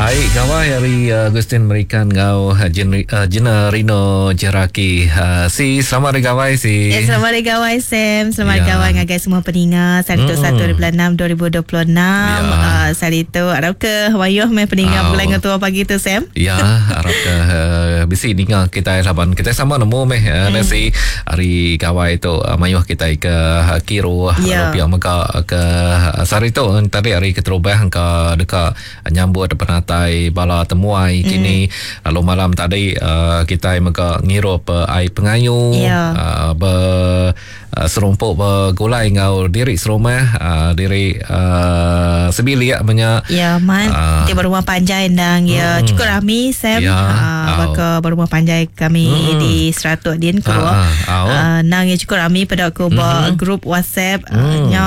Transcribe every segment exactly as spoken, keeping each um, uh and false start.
Ai gawai hari Agustin Merikan ngau Gina Rino Jeraki. Si selamat hari gawai si. Ya, selamat hari gawai Sam. Selamat ya. Gawai ngagai semua peninga. Sari tu satu hari bulan enam dua ribu dua puluh enam. Ya. Sari tu harap ke wayuh mai peninga oh. Bulan ngetua pagi tu Sam. Ya, harap ke uh, bisi ninga kita laban kita sama nemu meh uh, mm. si hari gawai tu uh, mayuh kita ke uh, Kiru ya. Lalu pihak mega ke uh, sari tu tadi hari keterubah ke dekat nyambut penatai bala temuai mm. kini. Lalu malam tadi uh, kita mega ngirup uh, air pengayu ya. uh, ber uh, serumpuk bergulai ngau diri serumah uh, diri uh, sebilik banyak ya man uh, dia berumah panjai ndang ya mm. cukup rami Sam ya. uh, baka berumah panjai kami mm. di Seratuk din keluar uh, uh, uh, nang ya cukup rami pada aku mm. ba grup WhatsApp mm. uh, nya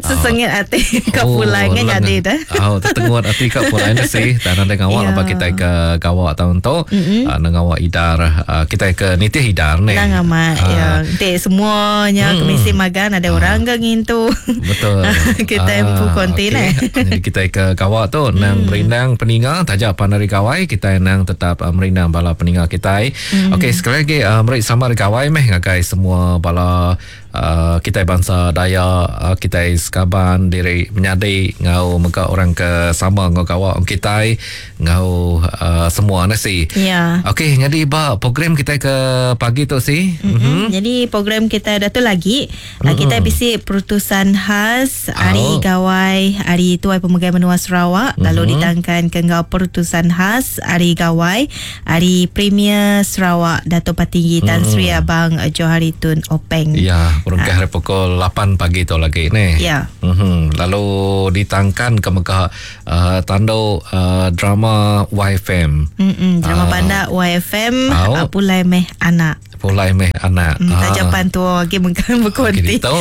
sesengit hati ka pulai ngan jadi dah. Oh, tertengut hati ka pulai ni sih. Tak ada ngawak Ya. apa kita ke gawak tahun tu mm-hmm. uh, ngawak idar uh, kita ke nitih idar ni. Nang amat uh, ya. Entik semuanya mm. kemisi magan ada uh, orang ke ngintu. Betul. Kita empu konti okay. lah. Jadi kita ke gawak tu nang mm. merindang peninga tajak pan hari gawai kita nang tetap uh, merindang bala peninga kita. Mm. Okey, sekali lagi uh, meri selamat hari gawai meh ngagai semua bala Uh, kita bangsa Dayak, uh, kita sekaban diri menyadi ngau mega orang ke sama ngau gawak kita ngau uh, semua nasi. Ya. Okey, jadi ba program kita ke pagi tu si. Mm-hmm. Mm-hmm. Jadi program kita dah tu lagi mm-hmm. kita bisi perutusan khas hari oh. gawai hari Tuai Pemegai Menua Sarawak mm-hmm. lalu ditangkan ke ngau perutusan khas hari gawai hari Premier Sarawak Dato' Patinggi Tan mm-hmm. Sri Abang Johari Tun Openg. Ya. Berungkah ha. pukul lapan pagi tu lagi ni. Ya. Mm-hmm. Lalu ditangkan ke Mekah uh, tanduk uh, drama Y F M. Mm-mm. Drama uh, pandak Y F M oh. uh, Pulai Meh Anak. Pulai Meh Anak. Mm, tajapan tu lagi mengkan berkonti. Kita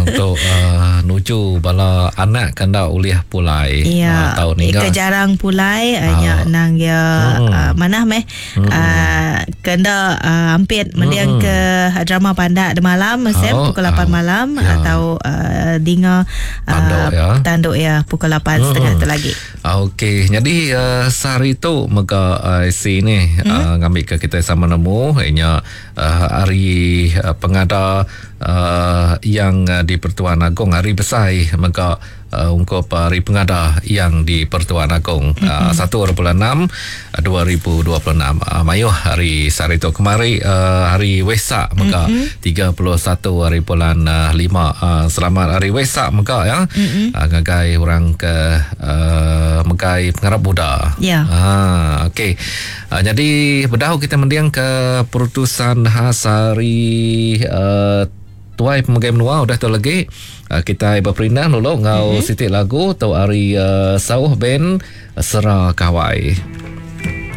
untuk uh, nuju bala anak kanda uliah pulai. Ya. Uh, tahun ni ke jarang pulai uh, nya nang ya Mm. uh, mana meh Mm. uh, kenda uh, ampit mendiang Mm. ke drama pandak de malam Sam Oh, pukul lapan oh. malam Ya. atau uh, dinga uh, Tanduk ya. Tanduk ya pukul lapan setengah tu lagi. Okey, jadi uh, sehari tu mega uh, si ni Hmm? uh, ngambil ke kita sama nemu ianya uh, hari uh, pengada uh, yang uh, di Pertuan Agong hari besar mega uh, ungkup hari pengada yang di Pertuan Agong Mm-hmm. uh, satu bulan enam dua ribu dua puluh enam. Uh, mayuh hari sehari tu kemari uh, hari Wesak mega Mm-hmm. tiga puluh satu hari bulan uh, lima. Uh, selamat hari Wesak mega ya. Mm-hmm. Uh, ngagai orang ke uh, megai pengarap Buddha. Ya. Ah, okey. Uh, jadi bedahu kita mendiang ke perutusan khas hari uh, Tuai Pemegai Menua udah tu lagi. Uh, kita berperindang dulu ngau Mm-hmm. sitik lagu tu hari uh, Sauh Band Sera Kawai.